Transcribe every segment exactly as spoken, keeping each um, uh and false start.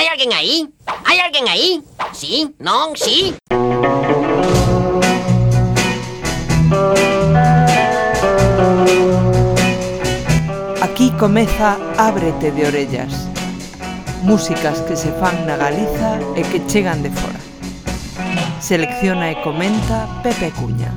Hai alguén aí? Hai alguén aí? Sí? Non? Sí? Aquí comeza Ábrete de orellas. Músicas que se fan na Galiza e que chegan de fora. Selecciona e comenta Pepe Cuña.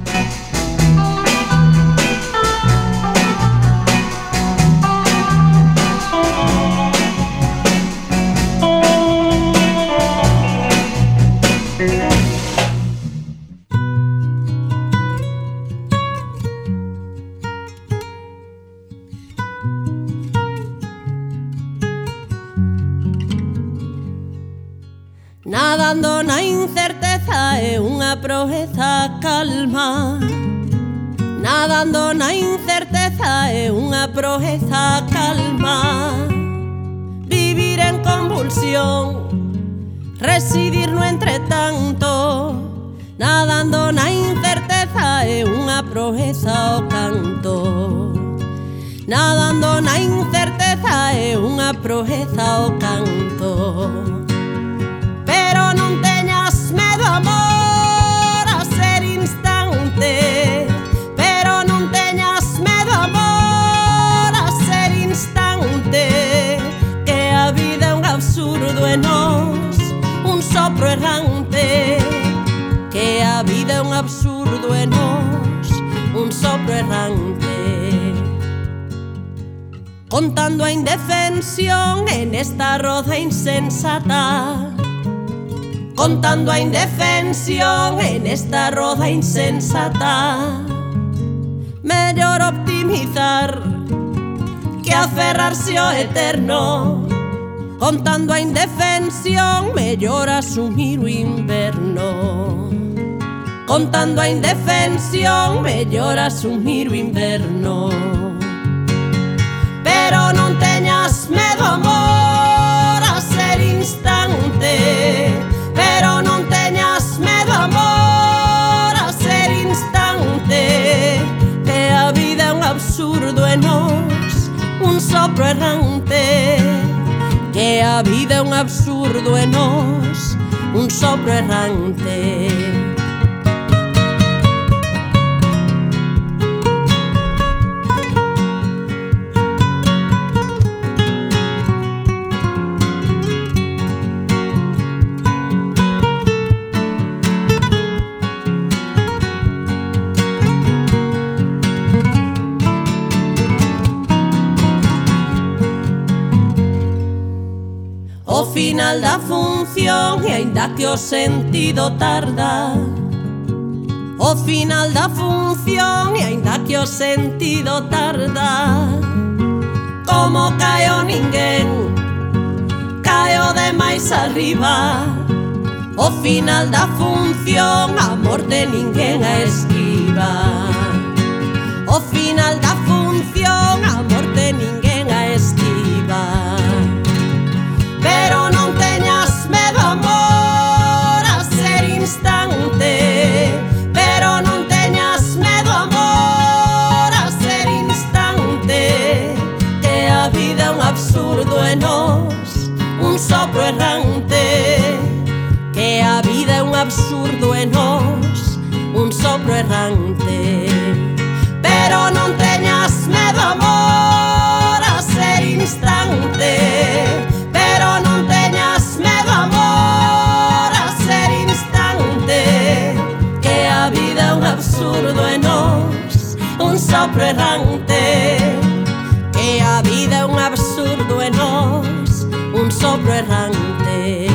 Nadando na incerteza é unha proeza calma. Nadando na incerteza é unha proeza calma. Vivir en convulsión, residir no entretanto. Nadando na incerteza é unha proeza o canto. Nadando na incerteza é unha proeza o canto. Pero non teñas medo, amor, a ser instante. Pero non teñas medo, amor, a ser instante. Que a vida é un absurdo e nós un sopro errante. Que a vida é un absurdo e nós un sopro errante. Contando a indefensión en esta roda insensata. Contando a indefensión en esta roda insensata. Mellor optimizar que aferrarse ao eterno. Contando a indefensión, mellor asumir o inverno. Contando a indefensión, mellor asumir o inverno. Pero non teñas medo, amor, a ser instante. Pero non teñas medo, amor, a ser instante. Que a vida é un absurdo e nós un sopro errante. Que a vida é un absurdo e nós un sopro errante. O final da función e aínda que o sentido tarda. O final da función e aínda que o sentido tarda. Como caeo ninguén, caeo de máis arriba. O final da función, a morte ninguén a esquiva. O final da función, a morte ninguén a esquiva. Pero non teñas medo, amor, a ser instante. Pero non teñas medo, amor, a ser instante. Que a vida é un absurdo e nós un sopro errante. Que a vida é un absurdo e nós un sopro errante. Pero non teñas medo, amor, a ser instante. Pero non teñas medo, amor, a ser instante. Que a vida é un absurdo e nós un sopro errante. Que a vida é un absurdo e nós un sopro errante.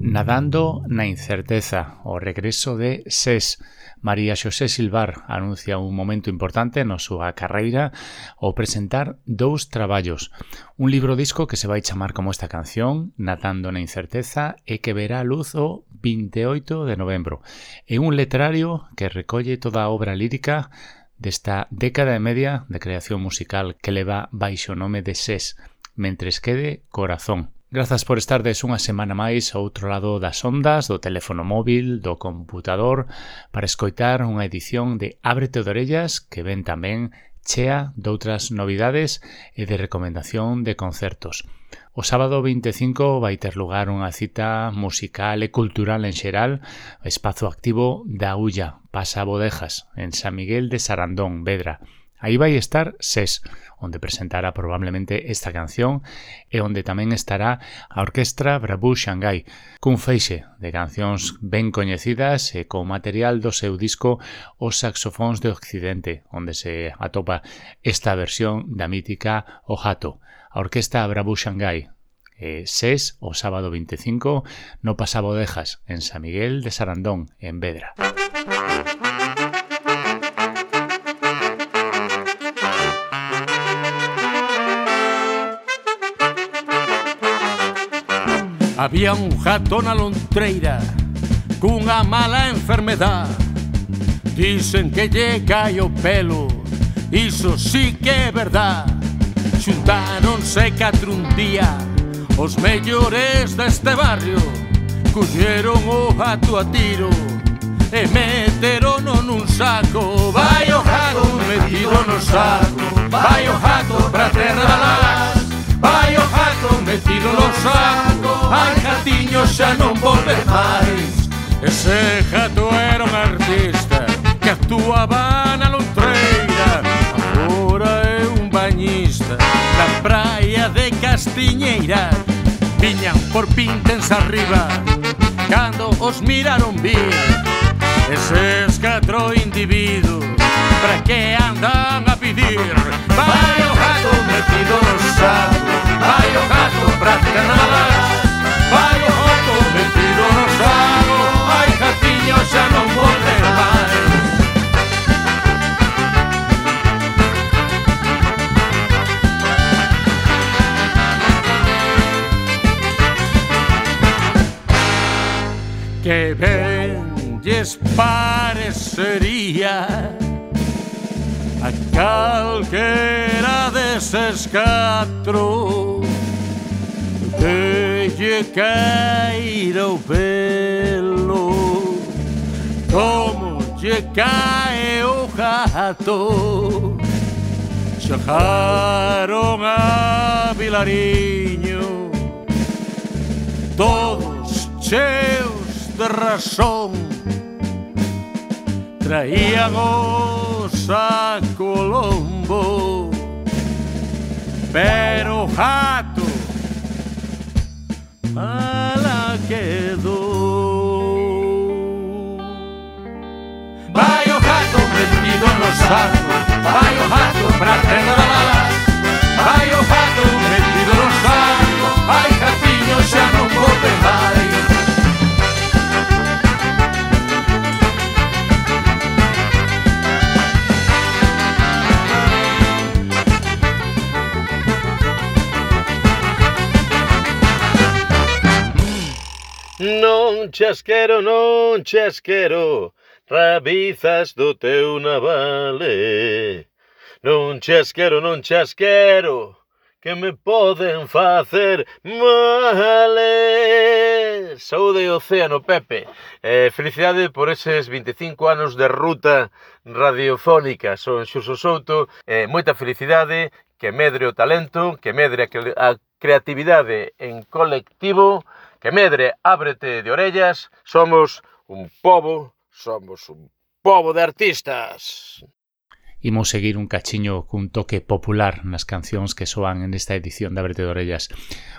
Nadando na incerteza, o regreso de SES. María Xosé Silvar anuncia un momento importante na súa carreira ao presentar dous traballos. Un libro disco que se vai chamar como esta canción, Nadando na incerteza, e que verá a luz o vinte e oito de novembro. E un letrario que recolle toda a obra lírica desta década e media de creación musical que leva baixo o nome de SES, Mentres quede corazón. Grazas por estardes unha semana máis ao outro lado das ondas, do teléfono móvil, do computador, para escoitar unha edición de Ábrete de orellas que ven tamén chea doutras novidades e de recomendación de concertos. O sábado vinte e cinco vai ter lugar unha cita musical e cultural en xeral, o espazo activo da Ulla, Pasa Bodejas, en San Miguel de Sarandón, Vedra. Aí vai estar SES, onde presentará probablemente esta canción e onde tamén estará a Orquestra Brabú Xangai, cun feixe de cancións ben coñecidas e con material do seu disco Os Saxofóns de Occidente, onde se atopa esta versión da mítica O Jato. A Orquestra Brabú Xangai, e SES, o sábado vinte e cinco, no Pasa Bodejas, en San Miguel de Sarandón, en Vedra. Había un jato na lontreira cunha mala enfermedad. Dicen que lle cae o pelo, iso sí que é verdad. Xuntáronse catro un día os mellores deste barrio, colleron o jato a tiro e meterono nun saco. Vai o jato metido no saco, vai o jato pra terra da las. Vai o jato metido no saco, ai jatiño xa non volve máis. Ese jato era un artista que actuaba na lontreira, agora é un bañista na praia de Castiñeira. Viñan por pintens arriba cando os miraron vir. Eses catro individuos para que andan a pedir? Vai o jato metido no saco, vai o jato pra terra, vai o jato metido no saco, ai jatiño xa non volve máis. Que ben lles parecería a calquera deses catro que lle caíra o pelo como lle cae o jato. Chegaron a Vilariño todos cheos de razón, traían os a Colombo, pero o jato mala quedou. Vai o jato metido no saco, vai o jato pra terra da las, vai o jato metido no saco, ai jatiño xa non volve máis. Non chasquero, non chasquero, rabizas do teu navale. Non chasquero, non chasquero, que me poden facer male. Saúde e océano, Pepe. Eh, felicidade por eses vinte e cinco anos de ruta radiofónica. Son Xuso Souto. Eh, moita felicidade, que medre o talento, que medre a creatividade en colectivo, que medre Ábrete de Orellas. Somos un pobo, somos un pobo de artistas. Imos seguir un cachiño cun toque popular nas cancións que soan en esta edición de Ábrete de Orellas.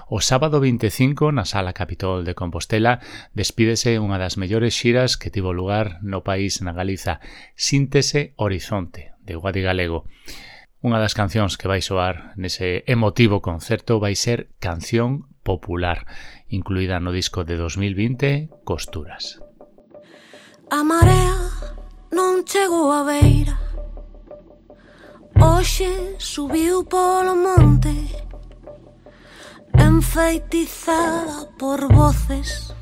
O sábado vinte e cinco, na Sala Capitol de Compostela, despídese unha das mellores xiras que tivo lugar no país, na Galiza, Síntese Horizonte, de Guadi Galego. Unha das cancións que vai soar nese emotivo concerto vai ser Canción Popular, incluída no disco de dos mil vinte, Costuras. A marea non chegou a beira, hoxe subiu polo monte, enfeitizada por voces,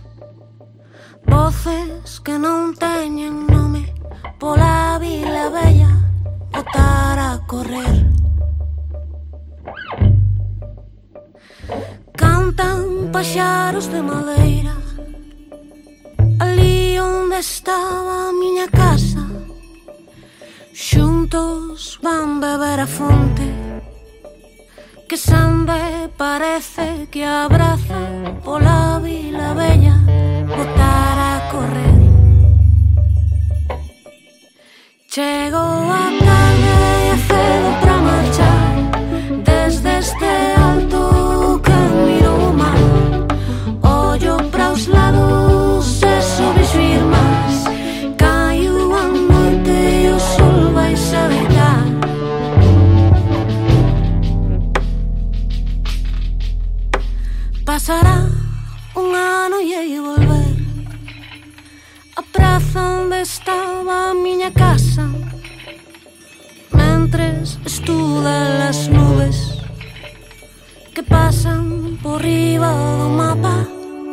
voces que non teñen nome, pola vila bella botar a correr. Cantan paxaros de madeira, ali onde estaba a miña casa, Xuntos van beber a fonte que Sande parece que abraza pola vila bella botar a correr. Chegou a tarde e cedo pra marchar desde este alto que miro o mar. Ollo pra os lados e sobre as firmas. Caiu a noite e o sol vai se deitar. Pasará un ano e hei volver a praza onde estaba a miña casa, mentres estudan as nubes que pasan por riba do mapa.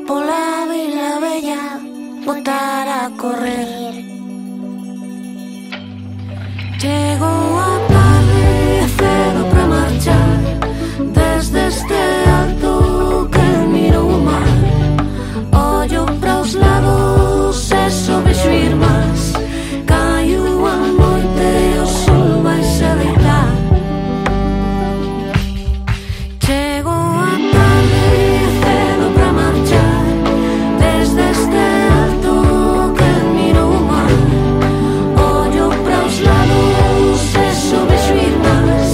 Pola vila bella botar a correr. Chegou a tarde e cedo pra marchar desde este alto que miro o mar. Ollo pra os lados e sobre as firmas. Caiu a noite e o sol vai se deitar. Chegou a tarde e cedo pra marchar desde este alto que miro o mar. Ollo pra os lados e sobre as firmas.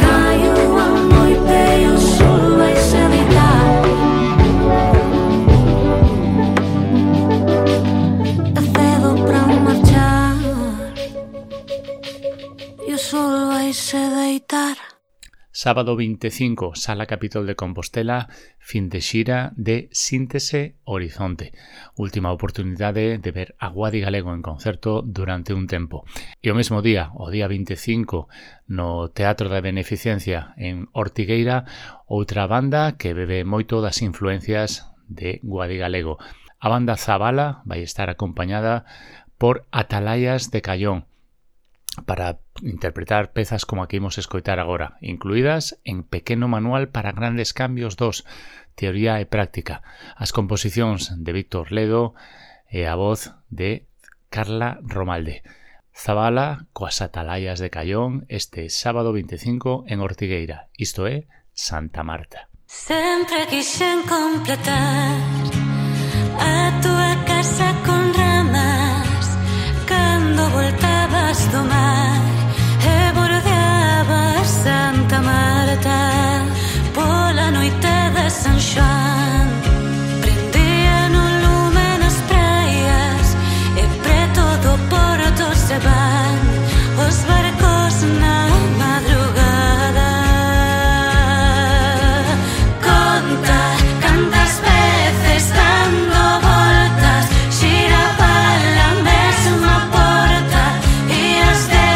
Caiu a noite e o sol vai se deitar. É cedo pra marchar e o sol vai se deitar. Sábado veinticinco, Sala Capitol de Compostela, fin de xira de Síntese Horizonte. Última oportunidade de ver a Guadi Galego en concerto durante un tempo. E o mesmo día, o día veinticinco, no Teatro da Beneficencia en Ortigueira, outra banda que bebe moito das influencias de Guadi Galego. A banda Zabala vai estar acompañada por Atalayas de Callón para interpretar pezas como a que imos escoitar agora, incluídas en Pequeno Manual para Grandes Cambios dos, Teoría e Práctica, as composicións de Víctor Ledo e a voz de Carla Romalde. Zabala coas Atalayas de Callón este sábado veinticinco en Ortigueira, isto é Santa Marta. Sempre quixen completar a tua casa con ramas cando voltabas do mar e bordeabas Santa Marta pola noite de San Xoán. Prendía no lume nas praias e preto do porto se van os barcos na madrugada. Conta cantas veces dando voltas xiraba la mesma porta e as de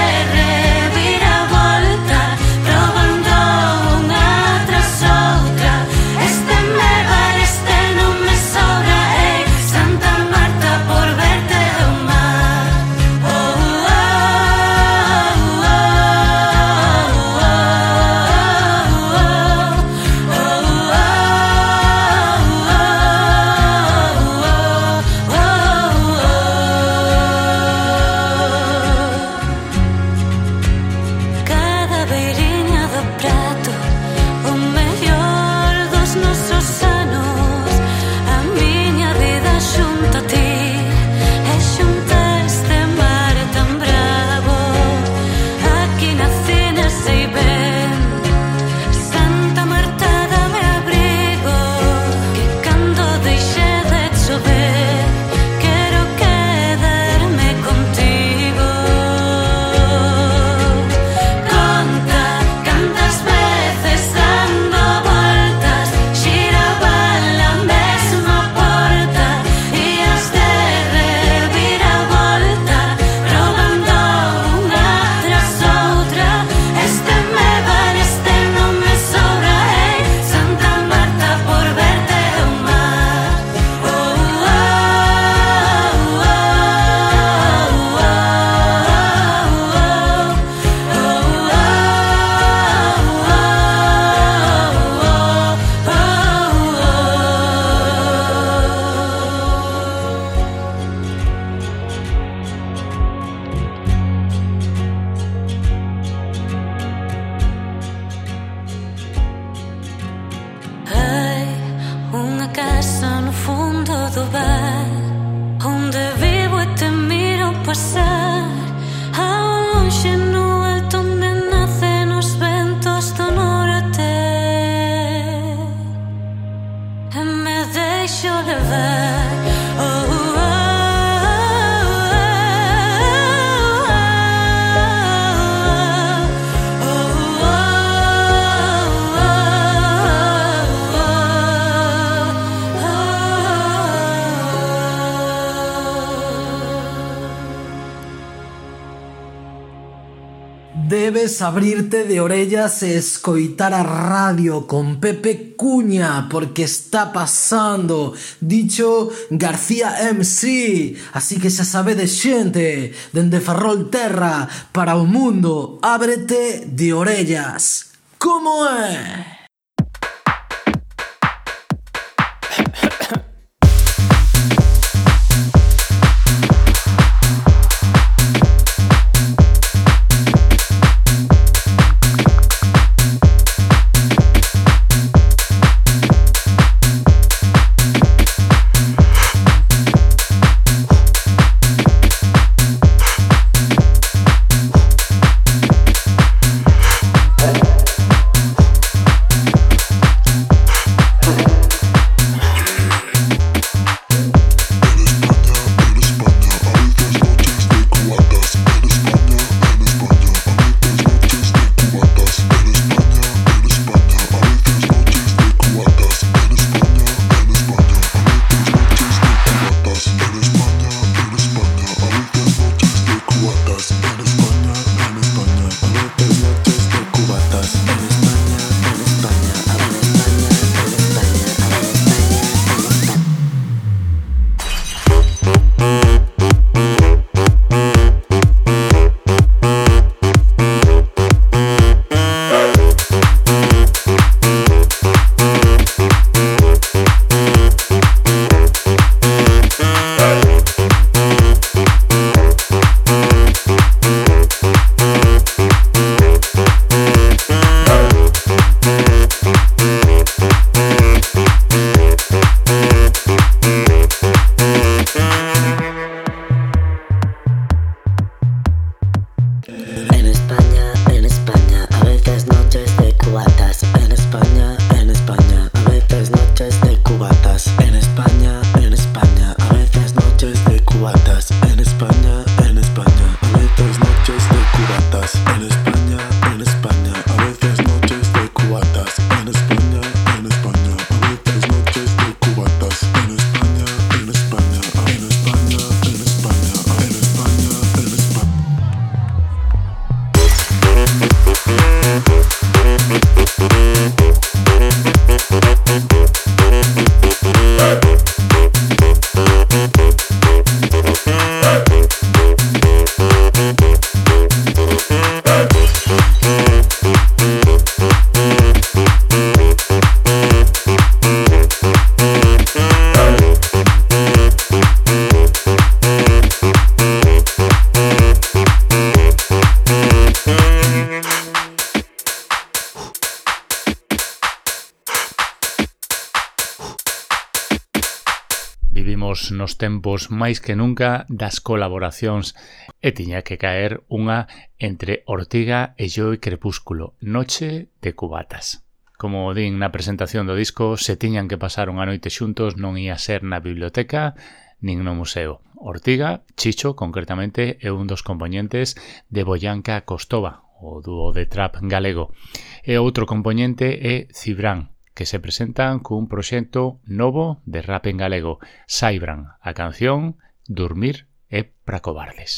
debes abrirte de orellas e escoitar a radio con Pepe Cuña, porque está pasando, dicho García M C. Así que xa sabedes, xente, dende Ferrolterra para o mundo, ábrete de orellas. Como é? Vivimos nos tempos máis que nunca das colaboracións e tiña que caer unha entre Ortiga e Joey Crepúsculo, Noche de Cubatas. Como din na presentación do disco, se tiñan que pasar unha noite xuntos non ia ser na biblioteca nin no museo. Ortiga, Chicho, concretamente, é un dos componentes de Boyanca Costova, o dúo de trap galego. E outro componente é Cibran, que se presentan cun proxecto novo de rap en galego, Saibran, a canción Dormir é pra cobardes.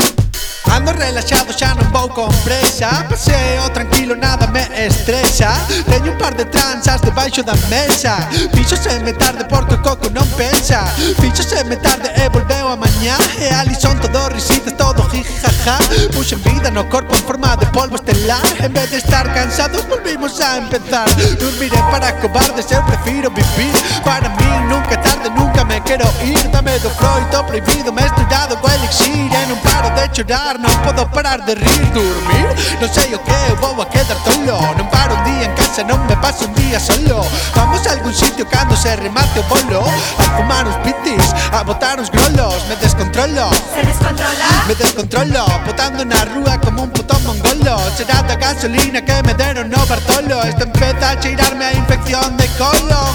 Ando relaxado, xa non vou con presa, paseo tranquilo, nada me estresa. Teño un par de tranzas debaixo da mesa. Fíxoseme tarde porque o coco non pensa. Fíxoseme tarde e volveu a mañá. E ali son todo risitas, todo jijaja. Puxen vida no corpo en forma de polvo estelar. En vez de estar cansados volvimos a empezar. Dormiré para cobardes, eu prefiro vivir. Para mí nunca é tarde, nunca me quero ir. Dame do froito prohibido, mesturado co elixir. E non paro de chorar, non podo parar de rir. Dormir, non sei o que, eu vou a quedar tolo. Non paro un día en casa, non me paso un día solo. Vamos a algún sitio cando se remate o bolo. A fumar uns pitis, a botar uns grolos. Me descontrolo, se descontrola, me descontrolo, botando na rúa como un puto mongolo. Será da gasolina que me deron no Bartolo. Isto empeza a cheirarme a infección de colon.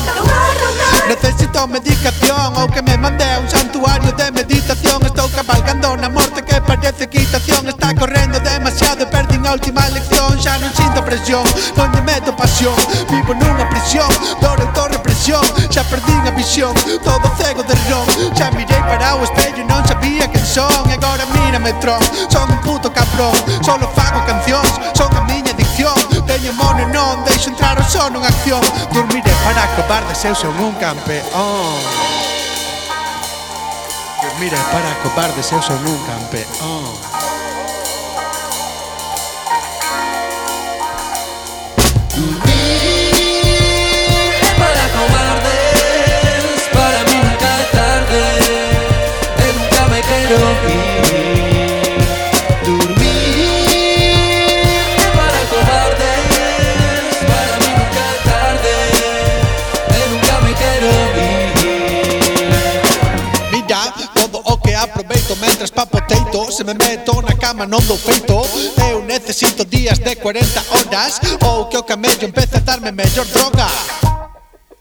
Necesito medicación ou que me mande a un santuario de meditación. Estou cabalgando na morte que parece equitación. Está correndo demasiado e perdín a última lección. Xa non sinto presión, non lle meto pasión. Vivo nunha prisión, dor autorrepresión. Xa perdín a visión, todo cego de ron. Xa mirei para o espello e non sabía quen son. E agora mírame tron, son un puto cabrón. Solo fago cancións, son a miña deixo entrar o son nunha acción. Dormiré para cobardes, eu son un campeón. Dormiré para cobardes, eu son un campeón. Aproveito mentras papoteito. Se me meto na cama non dou feito. Eu necesito días de cuarenta horas ou que o camello empece a darme mellor droga.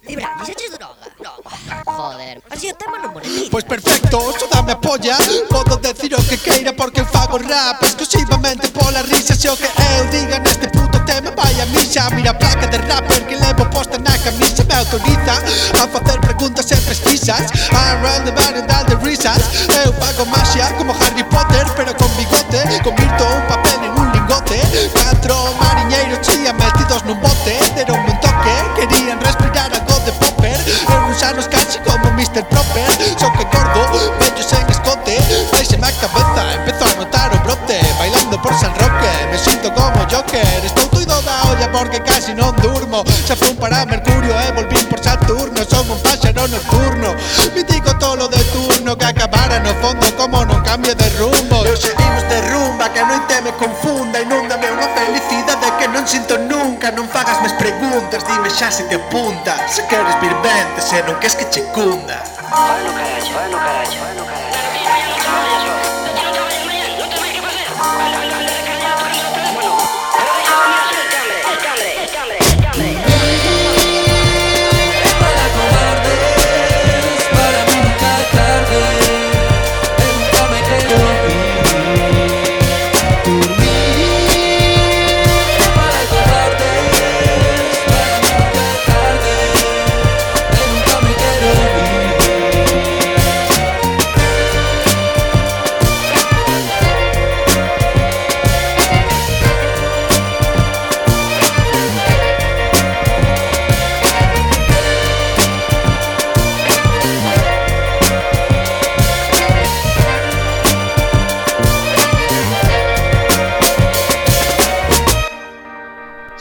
Ibra, dixeches droga? Droga. Joder, así o tema non monetiza. Pois perfecto, só dame a polla. Podo decir o que queira porque fago rap exclusivamente pola risa. Se o que eu diga neste puto tema vai a misa. Mira a placa de rapper que levo posta na camisa. Me autoriza a facer preguntas e pesquisas. Around the variedad de risas. Eu fago magia como Harry Potter, pero con bigote. Convirto un papel en un lingote. Catro mariñeiros chía metidos nun bote. Deronme un toque, querían respirar algo de popper. Eu uns anos casi como mister Proper. Só que gordo, bello sen escote. Deixeme a cabeza, empezo a notar o brote. Bailando por San Roque, me sinto como Joker. Estou tuido da olla porque casi non durmo. Xa fun para Mercurio e volvín por Saturno. Son un páxaro nocturno. Me digo tolo de turno que acabara no fondo como non cambio de rumbo. Eu seguimos de rumba, que a noite me confunda. Inúndame unha felicidade que non sinto nunca. Non fagas mes preguntas, dime xa se te apunta. Se queres vir vente, se non queres que che cunda. Vai no carallo, vai no carallo, vai no carallo.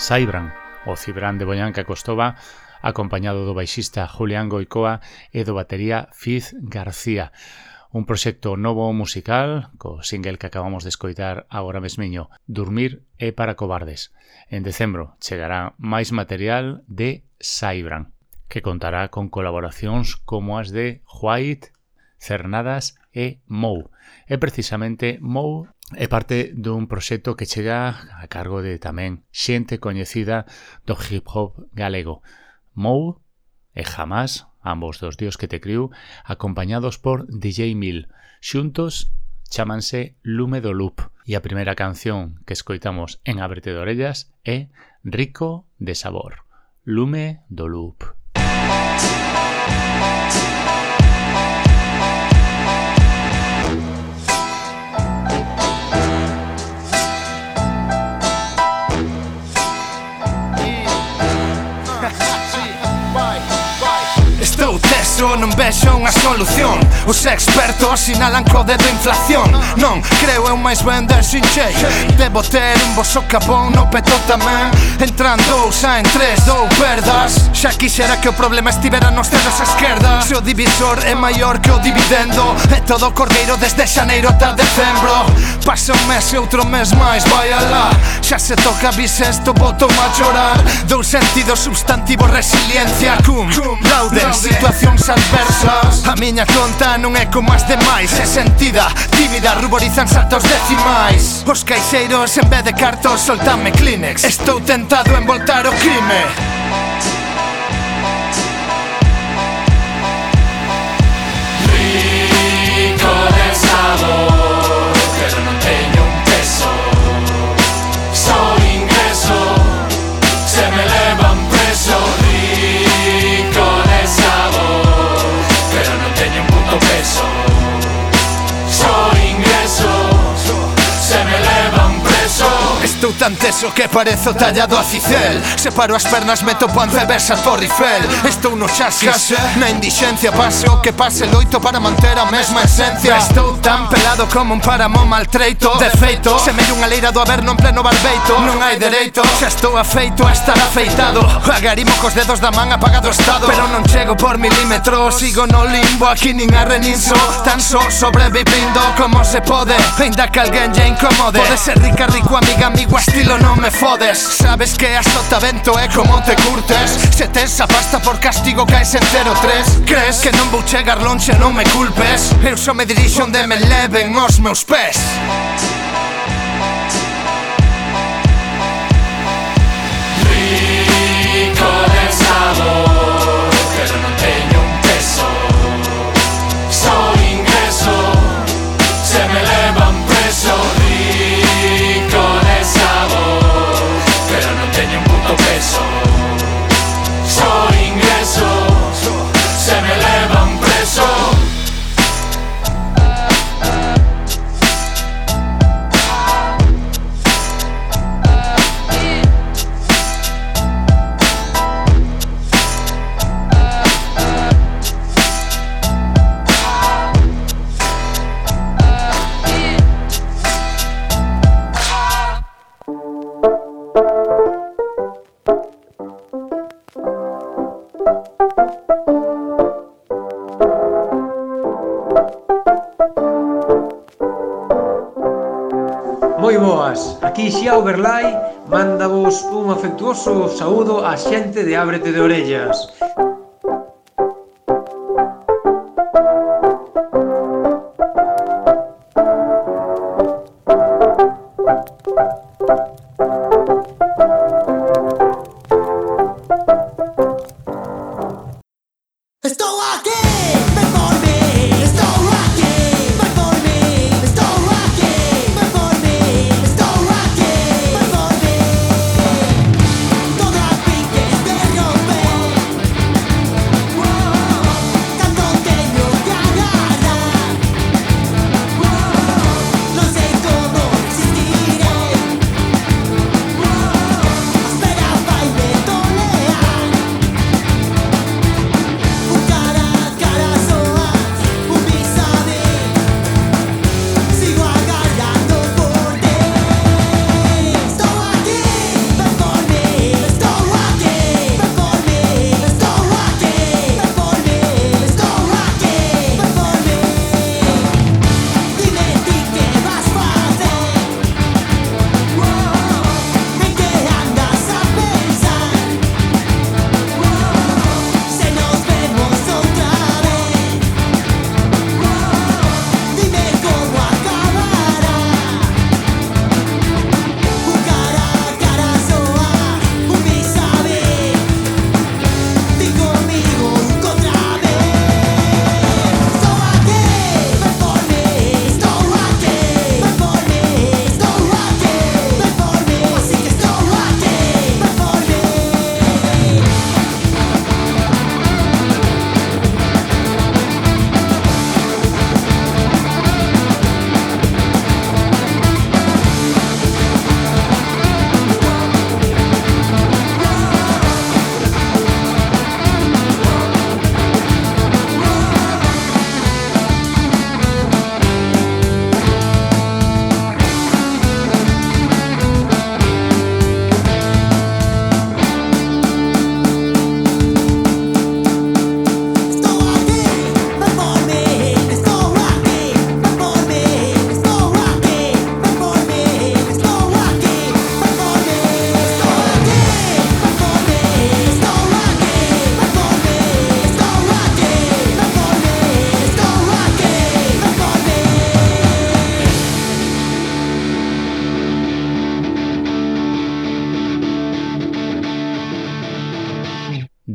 Saibran, o Cibran de Boñanca Costova, acompañado do baixista Julián Goicoa e do batería Fiz García. Un proxecto novo musical, co single que acabamos de escoitar agora mesmiño, Dormir é para cobardes. En decembro chegará máis material de Saibran, que contará con colaboracións como as de White, Cernadas e Mou. E precisamente Mou é parte dun proxecto que chega a cargo de tamén xente coñecida do hip hop galego. Mou e Jamás, ambos dos dios que te criu, acompañados por D J Mil. Xuntos chámanse Lume do Loop e a primeira canción que escoitamos en Ábrete de Orellas é Rico de Sabor. Lume do Loop. Estou teso, non vexo unha solución. Os expertos sinalan co dedo inflación. Non, creo eu máis ben der sin chei. Debo ter un bo socapón no peto tamén. Entran dous, saen tres, dou perdas. Xa quixera que o problema estivera nos dedos esquerda. Se o divisor é maior que o dividendo, é todo cordeiro desde xaneiro ata decembro. Pasa un mes e outro mes máis, vai alá. Xa se toca bisesto, boto a chorar. Dous sentidos, substantivo, resiliencia. Cum, laude, situacións adversas. A miña conta non é como as demais. É sentida, tímida, ruborizan saltos decimais. Os caixeiros en vez de cartos soltanme Kleenex. Estou tentado en voltar o crime. Rico de sabor, pero non teño un peso. Só ingreso, se me levan preso. Rico de sabor, pero non teño un puto peso. Só ingreso, se me levan preso. Estou Estou tan teso que parezo tallado a cicel. Separo as pernas, meto pan cebes a Torre Eiffel. Estou no chasis, na indixencia. Pase o que pase, loito para manter a mesma esencia. Estou tan pelado como un páramo maltreito. De feito, semelle unha leira do averno en pleno barbeito. Non hai dereito, xa estou afeito a estar afeitado. Agarimo cos dedos da man apagado o estado. Pero non chego por milímetros, sigo no limbo. Aquí nin arre nin so, tan só sobrevivindo como se pode. Ainda que alguén lle incomode. Pode ser rica, rico, amiga, amigo, a estilo non me fodes. Sabes que a sotavento é como te curtes. Se tes a pasta por castigo caes entero tres. Crees que non vou chegar lonxe, non me culpes. Eu só me dirixo onde me leven os meus pés. Rico del sabor, pero non teño un peso. Soy ingreso, se me levan preso. Rico del sabor, pero non teño un puto peso. Soy ingreso, se me levan preso. Moi boas, aquí xa Overlay mándavos un afectuoso saúdo á xente de Ábrete de Orellas.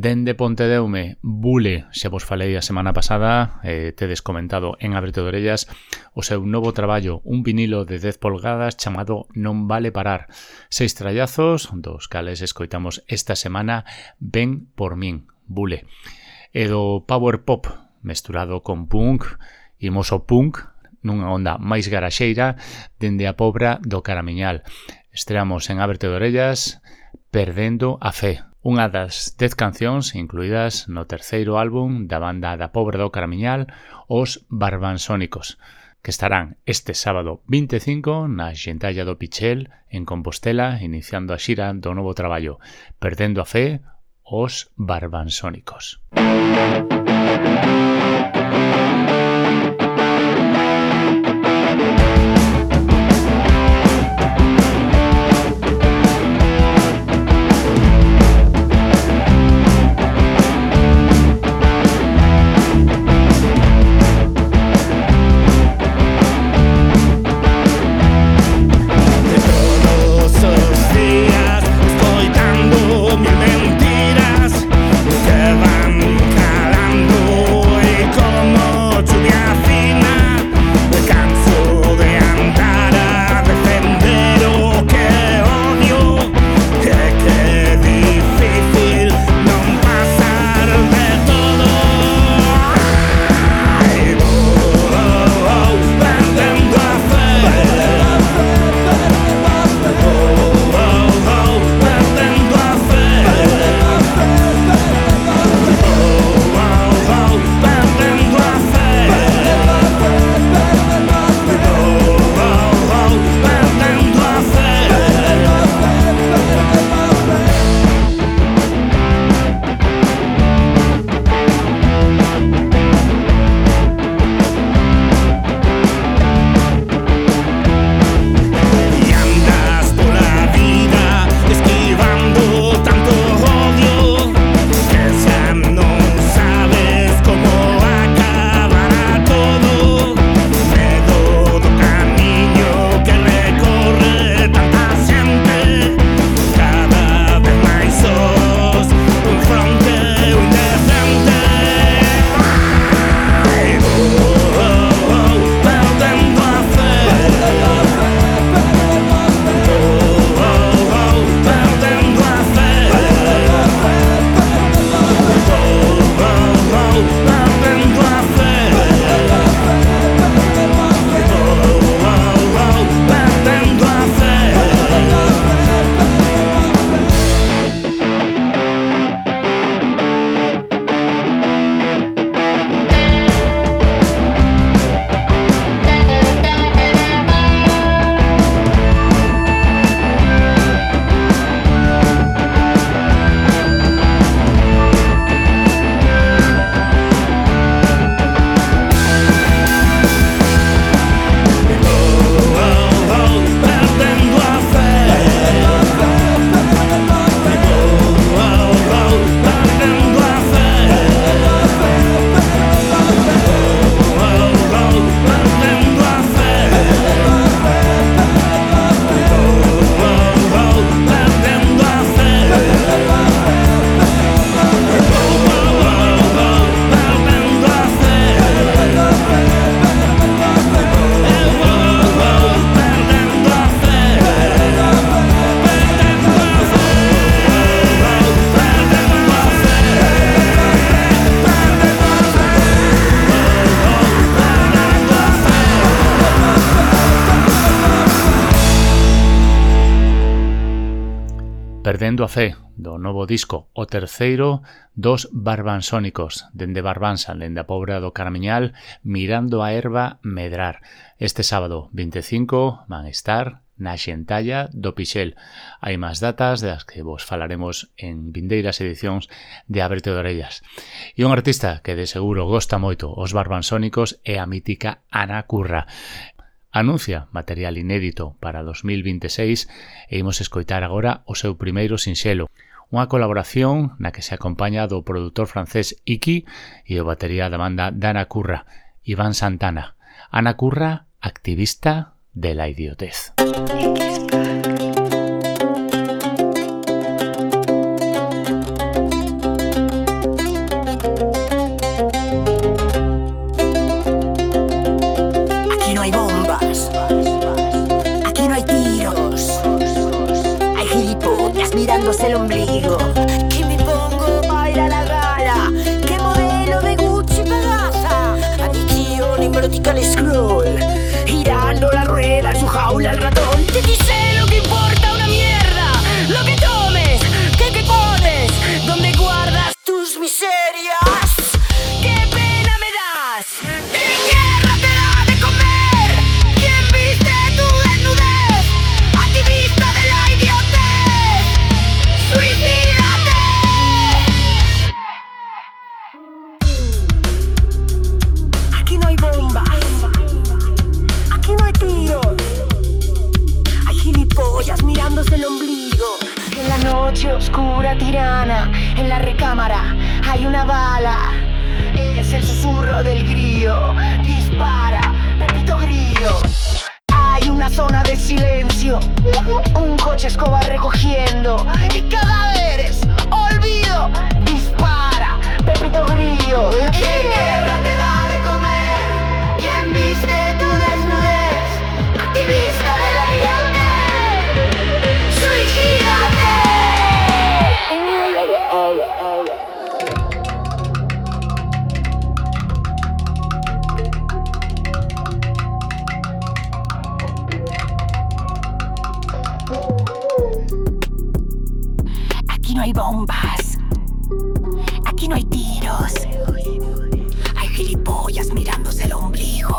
Dende Pontedeume, Bule, xa vos falei a semana pasada, eh, tedes comentado en Ábrete de Orellas o seu novo traballo, un vinilo de dez polgadas chamado Non vale parar. Seis trallazos, dos cales escoitamos esta semana, Ven por min, Bule. E do power pop mesturado con punk, imos o punk nunha onda máis garaxeira dende a Pobra do Caramiñal. Estreamos en Ábrete de Orellas Perdendo a Fe, unha das dez cancións incluídas no terceiro álbum da banda da Pobra do Caramiñal, Os Barbansónicos, que estarán este sábado vinte e cinco na Xentalla do Pichel en Compostela, iniciando a xira do novo traballo Perdendo a Fe, Os Barbansónicos. Perdendo a Fe, do novo disco, o terceiro dos Barbansónicos, dende Barbanza, dende a Pobra do Caramiñal, mirando a erva medrar. Este sábado vinte e cinco van estar na Xentalla do Pixel. Hai máis datas das que vos falaremos en vindeiras edicións de Ábrete de Orellas. E un artista que de seguro gosta moito os Barbansónicos é a mítica Ana Curra. Anuncia material inédito para dos mil vinte e seis e imos escoitar agora o seu primeiro sinxelo, unha colaboración na que se acompaña do produtor francés Iki e o batería da banda Ana Curra, Iván Santana. Ana Curra, activista de la idiotez. El ombligo, y me pongo a ir a la gala. ¿Qué modelo de Gucci me gasta? Adicción hipnótica al scroll, girando la rueda en su jaula el ratón. Te dice lo que importa. noche oscura tirana, en la recámara hay una bala. Es el susurro del grillo, dispara, Pepito Grillo. Hay una zona de silencio, un coche escoba recogiendo y cadáveres, olvido, dispara, Pepito Grillo. ¿Quién guerra te da de comer? ¿Quién viste tu desnudez? Activista de la igualdad, suicídate. Aquí no hay bombas, aquí no hay tiros, hay gilipollas mirándose el ombligo.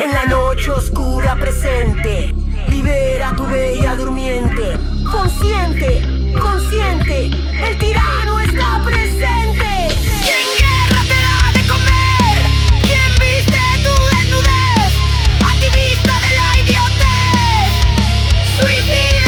En la noche oscura presente, libera tu bella durmiente. Consciente, consciente, el tirano está presente. ¿Quién guerra te da de comer? ¿Quién viste tu desnudez? Activista de la idiotez, suicídate.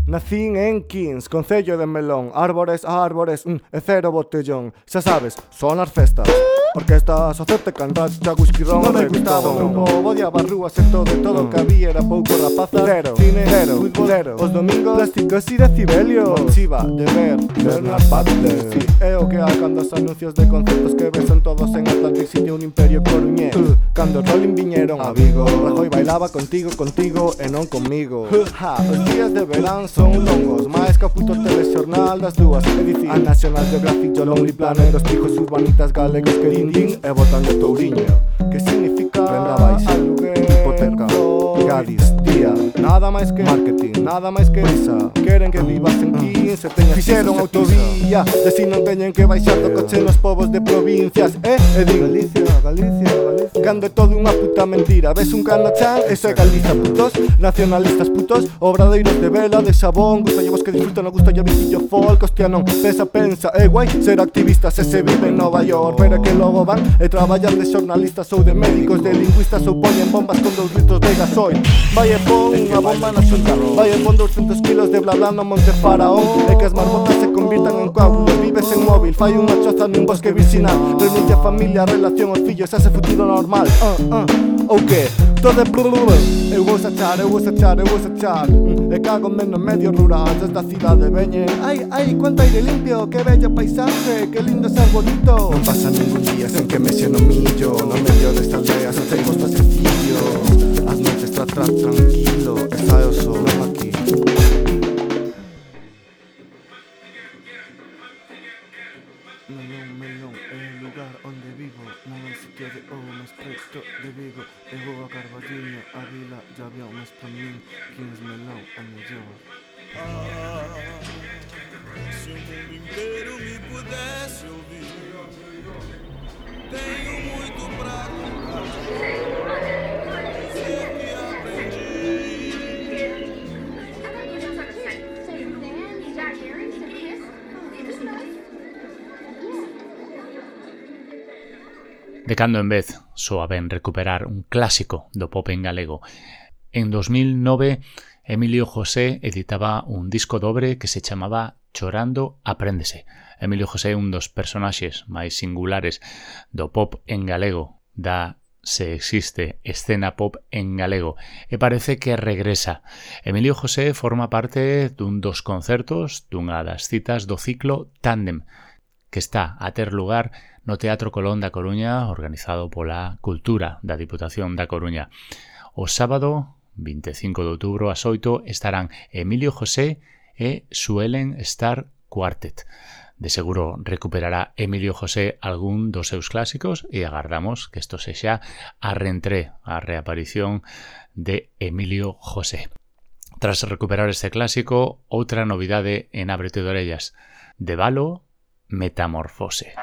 Nacín en Quins, concello de Melón. Árbores a árbores, mm, e cero botellón. Xa sabes, son as festas. Orquestas, hacerte cantar, whisky ron, non me gustaba un pobo de abarrúas e todo, e todo que había era pouco rapaza. Cero, cine, cero, fútbol, cero. Os domingos, plásticos e decibelios. Chiva, de ver, ver nas partes. Si, é o que hai cando os anuncios de concertos que ves son todos en Atlantic City, un imperio coruñés. uh, Cando os Rolling viñeron a Vigo, Rajoy bailaba contigo, contigo e non comigo. Ha, os días de verán son longos, máis que o puto telexornal das dúas. É dicir, a National Geographic, o Lonely Planet, os pijos urbanitas galegos que din e botan de Touriño. Que significa renda baixa, hipoteca, Gadis, día. Nada máis que marketing, nada máis que prisa. Queren que vivas en quince, teñas fixeron autovía. De si non teñen que baixar do coche nos povos de provincias. Eh, e din Galicia, Galicia, Galicia. Cando é todo unha puta mentira. Ves un cano chan, eso é Galiza, putos. Nacionalistas putos, obradeiros de vela, de sabón. Gusta llevos que disfrutan, no gusta ya visillo folk. Hostia non, pensa, pensa, é guai ser activistas e se vive en Nova York. Pero que logo van e traballan de xornalistas ou de médicos, de lingüistas ou poñen bombas con dous litros de gasoil. Vai e pon unha bomba na xunta, vai e pon doscientos kilos de bla bla no Monte Faraón. E que as marmotas se convirtan en coágulos. Vives en móvil, fai unha choza nun bosque virxinal. Renuncia a familia, a relación, os fillos, ese futuro normal. uh, uh. Ou que? Todo é blululul. Eu vou sachar, eu vou sachar, eu vou sachar. mm. E cago menos medio rural desde a cidade veñen. Ai, ai, cuánto aire limpio, que bello paisaje, que lindo ser bonito. Non pasa ningún día sen que me xe no millo. No medio desta aldea se te costa sencillo. As noites tra tra tranquilo, está o sol aquí. Melón, melón, é o lugar onde vivo. Non é sitio de ou máis preto de Vigo. E vou a Carballiño, a vila, ya había máis pra min. Quins melón, a mellor. Ah, se o mundo inteiro me pudesse ouvir, tenho muito pra contar. Dizer que aprendi. De cando en vez soa ben recuperar un clásico do pop en galego. En dos mil nove, Emilio José editaba un disco dobre que se chamaba Chorando Apréndese. Emilio José é un dos personaxes máis singulares do pop en galego, da se existe escena pop en galego, e parece que regresa. Emilio José forma parte dun dos concertos dunha das citas do ciclo Tándem, que está a ter lugar no Teatro Colón da Coruña, organizado pola Cultura da Diputación da Coruña. O sábado vinte e cinco de outubro ás oito estarán Emilio José e Suelen Star Quartet. De seguro recuperará Emilio José algún dos seus clásicos e agardamos que isto sexa a reentré, a reaparición de Emilio José. Tras recuperar este clásico, outra novidade en Ábrete de Orellas. De Valo, Metamorfose.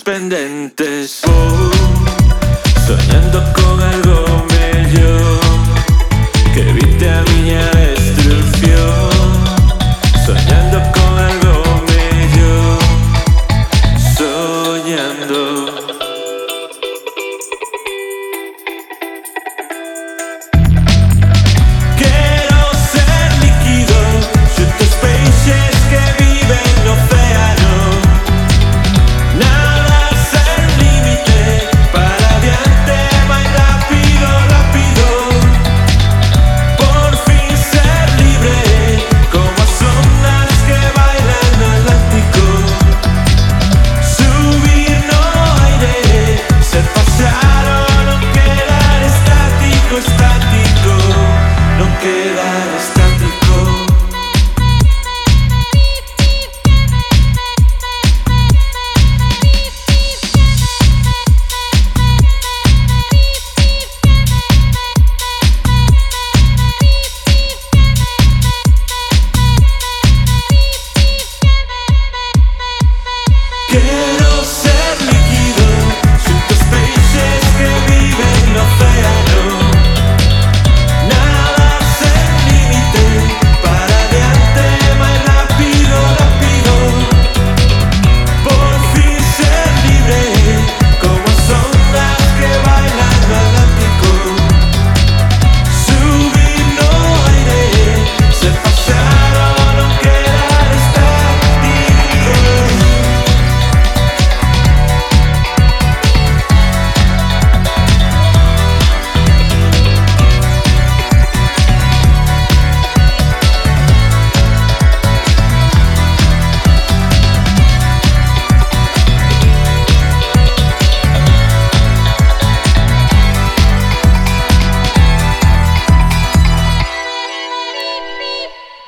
pendentes, oh, soñando con algo mellor, que evite a miña destrucción, soñando con algo mellor, soñando.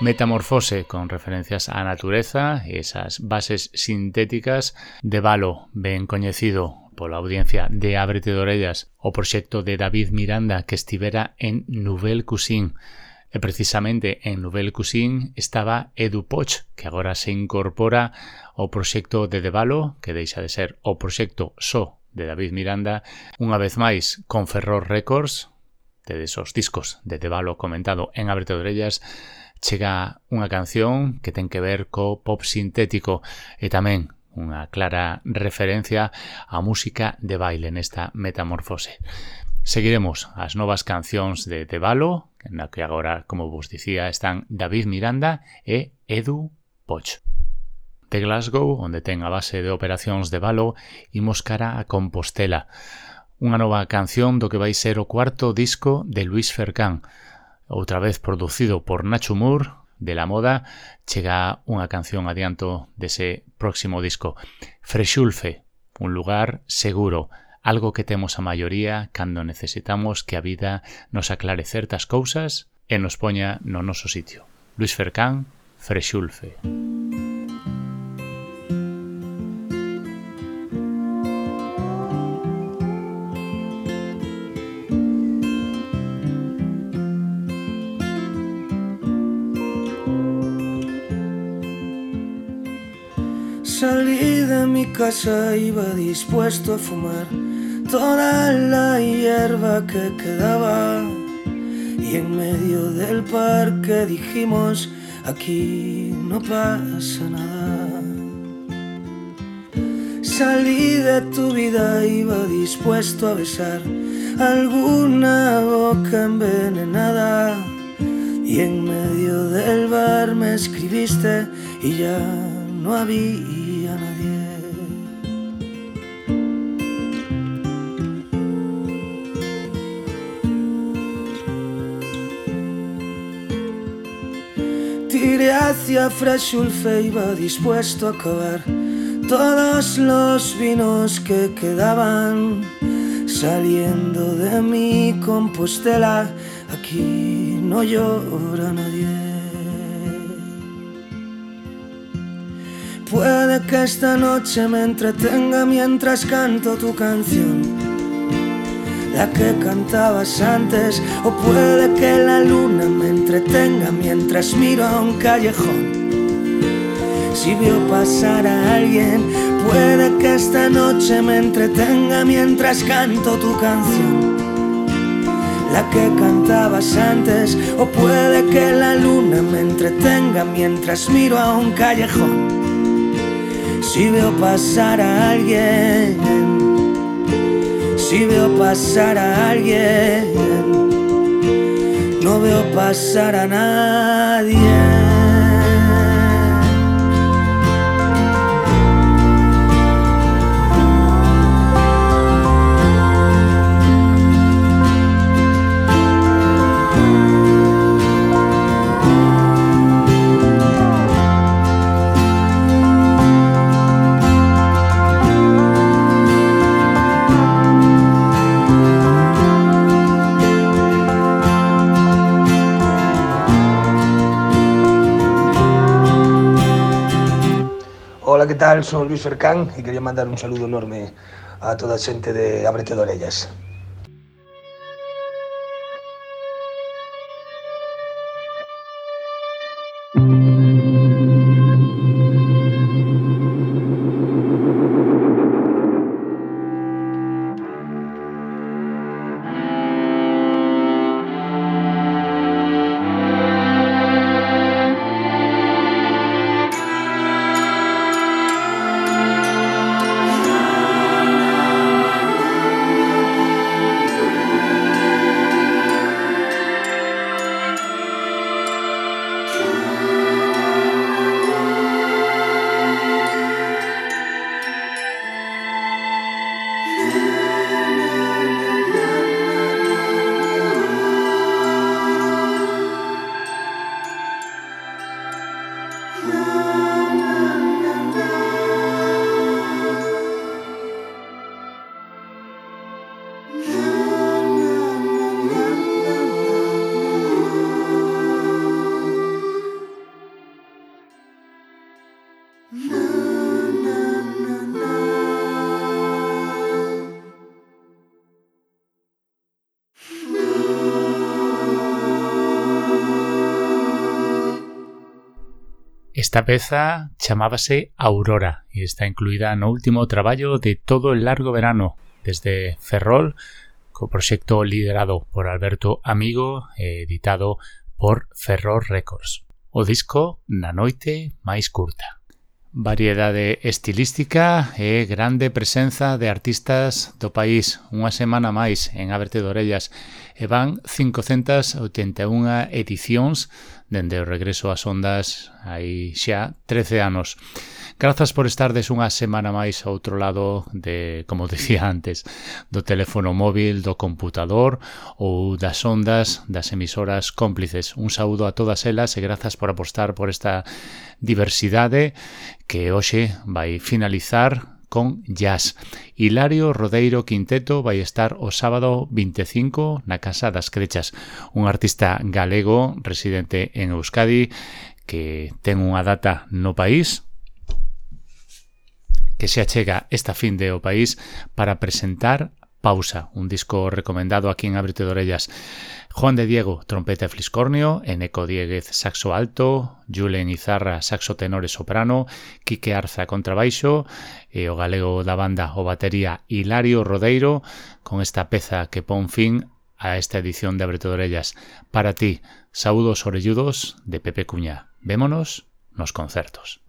Metamorfose, con referencias á natureza e esas bases sintéticas de Valo, ben coñecido pola audiencia de Ábrete de Orellas o proxecto de David Miranda que estivera en Nouvelle Cuisine. E precisamente en Nouvelle Cuisine estaba Edu Poch, que agora se incorpora ao proxecto de Devalo, que deixa de ser o proxecto só de David Miranda, unha vez máis con Ferror Records, de esos discos de Devalo comentado en Ábrete de Orellas, chega unha canción que ten que ver co pop sintético e tamén unha clara referencia á música de baile nesta metamorfose. Seguiremos as novas cancións de Devalo, na que agora, como vos dicía, están David Miranda e Edu Poch. De Glasgow, onde ten a base de operacións de Devalo, imos cara a Compostela, unha nova canción do que vai ser o cuarto disco de Luis Fercán. Outra vez producido por Nacho Moore, de La Moda, chega unha canción adianto dese próximo disco. Frexulfe, un lugar seguro, algo que temos a maioría cando necesitamos que a vida nos aclare certas cousas e nos poña no noso sitio. Luis Fercán, Frexulfe. Salí de mi casa, iba dispuesto a fumar toda la hierba que quedaba, y en medio del parque dijimos, aquí no pasa nada. Salí de tu vida, iba dispuesto a besar alguna boca envenenada, y en medio del bar me escribiste y ya no había nadie. Tiré hacia Frexulfe, iba dispuesto a acabar todos los vinos que quedaban. Saliendo de mi Compostela, aquí no llora nadie. Puede que esta noche me entretenga mientras canto tu canción, la que cantabas antes, o puede que la luna me entretenga mientras miro a un callejón. Si veo pasar a alguien, puede que esta noche me entretenga mientras canto tu canción, la que cantabas antes, o puede que la luna me entretenga mientras miro a un callejón. Si veo pasar a alguien, si veo pasar a alguien, no veo pasar a nadie. Hola, ¿qué tal? Soy Luis Fercán y quería mandar un saludo enorme a toda a xente de Ábrete de Orellas. Esta peza chamábase Aurora e está incluída no último traballo de Todo el largo verano desde Ferrol, co proxecto liderado por Alberto Amigo e editado por Ferrol Records. O disco Na noite máis curta. Variedade estilística e grande presenza de artistas do país. Unha semana máis en Ábrete de Orellas e van cincocentas oitenta e unha edicións dende o regreso ás ondas hai xa trece anos. Grazas por estardes unha semana máis ao outro lado de, como decía antes, do teléfono móvil, do computador ou das ondas das emisoras cómplices. Un saúdo a todas elas e grazas por apostar por esta diversidade que hoxe vai finalizar con jazz. Hilario Rodeiro Quinteto vai estar o sábado vinte e cinco na Casa das Crechas, un artista galego residente en Euskadi que ten unha data no país que se achega esta fin de o país para presentar Pausa, un disco recomendado aquí en Ábrete de Orellas. Juan de Diego, trompeta e fliscornio, Eneco Dieguez, saxo alto, Julen Izarra, saxo tenor e soprano, Quique Arza, contrabaixo, e o galego da banda o batería Hilario Rodeiro, con esta peza que pon fin a esta edición de Ábrete de Orellas. Para ti, saúdos orelludos de Pepe Cuña. Vémonos nos concertos.